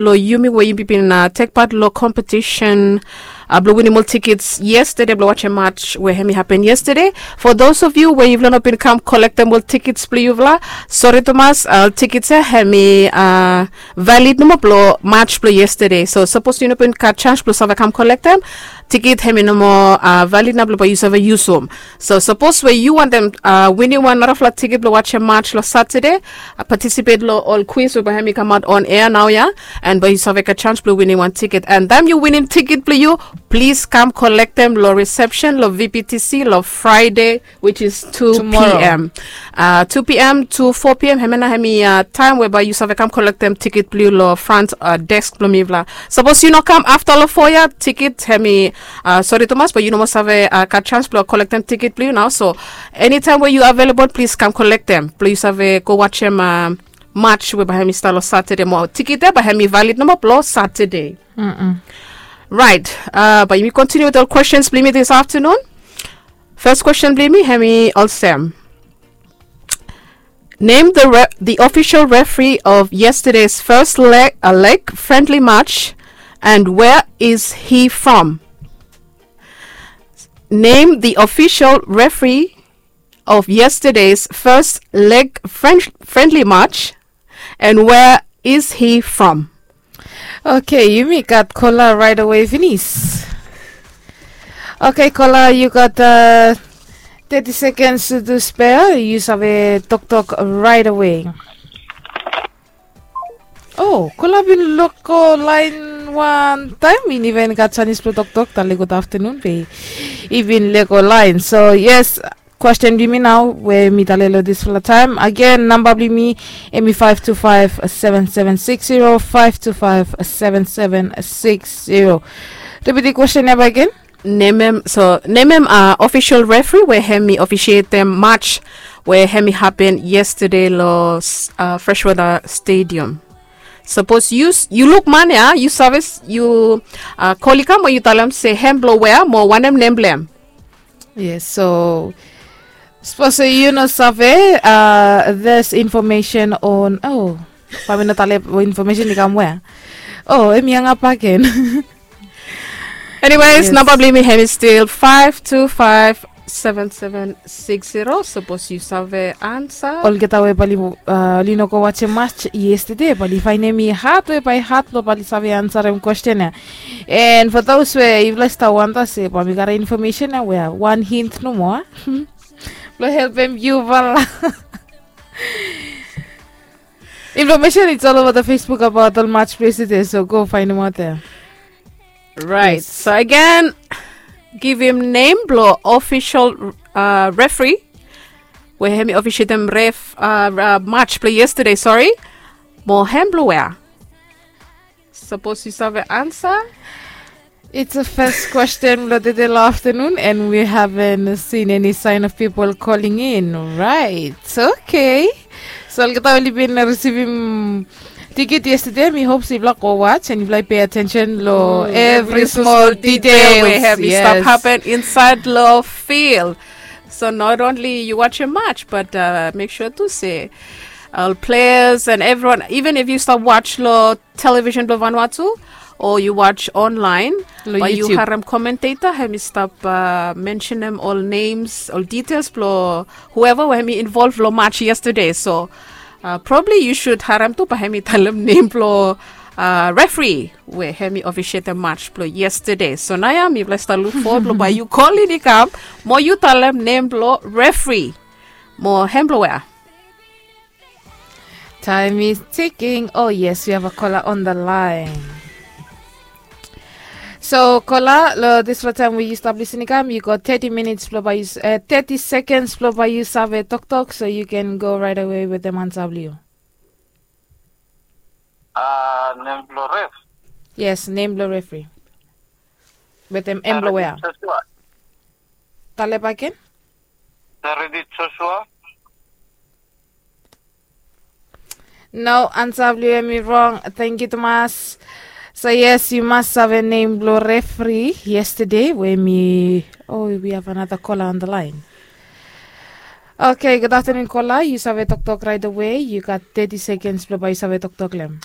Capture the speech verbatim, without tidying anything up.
Lo yumi we yumi bin tek pat lo kompetisen, blong winim ol tikits yestede blong wajem match we hem i hapen yestede. For those of you we yufala no bin kam kolektem ol tikits blong yufala, sori tumas, ol tikits ya hem i valid nomo blong match blong yestede. So sapos yu no bin gat sens blong save kam kolektem tikit, hem i no moa valid nao blong bae yu save yusum. So sapos we yu wantem winim wan narafala tikit blong wajem match long Satade, patisipet long ol kwis we bae hem i kamaot on ea naoia, and bae yu save gat sens blong winim wan tikit. And taem yu winim tikit blong yu, plis kam kolektem long risepsen long V P T C long Fraede, which is two p.m. Two p.m. to four p.m. Hemia nao hem i taem we bae yu save kam kolektem tikit blong yu long front desk blong mifala. Sapos yu no kam afta long foa ya, tikit hem i, sori tumas, bae yu no moa save gat sens blong kolektem tikit blong yu nao. So enitaem we yu avelabol, plis kam kolektem blong yu save go wajem match we bae hem i stap long Satade. Mo tikit ya bae hem i valid nomo blong Satade. Raet. Bae yumi kontiniu wetem ol kwestens blong yumi dis aftenun. Fes kwesten blong yumi hem i olsem. Name the re- the official referee of yesterday's first leg, uh, leg friendly match, and where is he from? Name the official referee of yesterday's first leg friend- friendly match, and where is he from? Okay, yumi gat kola raet awe finis. Okay, kola, yu gat teti sekens tu spea, yu save toktok raet awe. O, kola bin loko laen wantaem, i no even gat sanis blong toktok. Tale gud aftenun be i bin loko laen. So yes, kwesten blong yumi nao we mi tale long disfala taem. Agen, namba blong yumi hem i five two five seven seven six zero, five two five seven seven six zero. Ripit kwesten ya baek agen. Nemem, so nemem ofisol refri we hem i ofisietem match we hem i hapen yestade long Freshwater Stadium. Sapos yu luk man ya, yu save, yu kol i kam we yu talem se hem blong wea mo wanem nem blong hem. Yes, so sapos yu no save, there's information on, o, bae mi no talem infomesen i kam wea. O, hem i hangap agen. Anyways, namba blong yumi hem i stil five two five seven seven six zero. Sapos yu save ansa. Olgeta we bae oli no go wajem match yestade, bae oli faenem i had we bae had blong bae oli save ansarem kwesten ya. And for those we yufala i stap wanda se bae mi karem infomesen ya wea, wan hint nomo blong helpem yufala. Infomesen it's all over the Facebook abaot ol match blong yestade, so go faenemaot ya. Right. So agen, givim nem blong ofisol refri we hem i ofisietem ref match blong yestade, sori. Mo hem blong wea? Sapos yu save ansa. It's a fes kwesten blong tede long aftenun and we haven't seen any sign of people calling in. Right. Okay. So olgeta we oli bin risivim tiket yestade, mi hop se yufala go watch and yufala i pei atensen long evri smol ditel we hem i stap hapen insaed long field. So not only yu wajem match, but mek sua tu se ol pleas and evriwan, iven if yu stap watch long televisen blong Vanuatu o yu watch onlaen, bae yu harem komenteta hem i stap mensenem ol nems, ol ditels blong hueva we hem i involv long match yestade. So probabli yu sud harem tu bae hem i talem nem blong refri we hem i ofisietem match blong yestade. So naoia mifala i stap luk fowod blong bae yu kol in i kam mo yu talem nem blong refri. Mo hem blong wea? Time is ticking. Oh yes, we have a caller on the line. So caller, long disfala taem we yu stap lisin i kam, yu gat teti minits blong bae yu, teti sekens blong bae yu save toktok, so yu ken go raet awe wetem ansa blong yu. Nem blong ref? Yes, nem blong refri. Wetem hem blong wea? Talem bakegen. Saredit Joshua. No, ansa blong yu hem i rong. Tangkiu tumas. So yes, yu mas save nem blong refri yestade we hem i, oh, we have another caller on the line. Okay, gud aftenun caller, yu save toktok raet awe. Yu gat teti sekens blong bae yu save toktok long hem.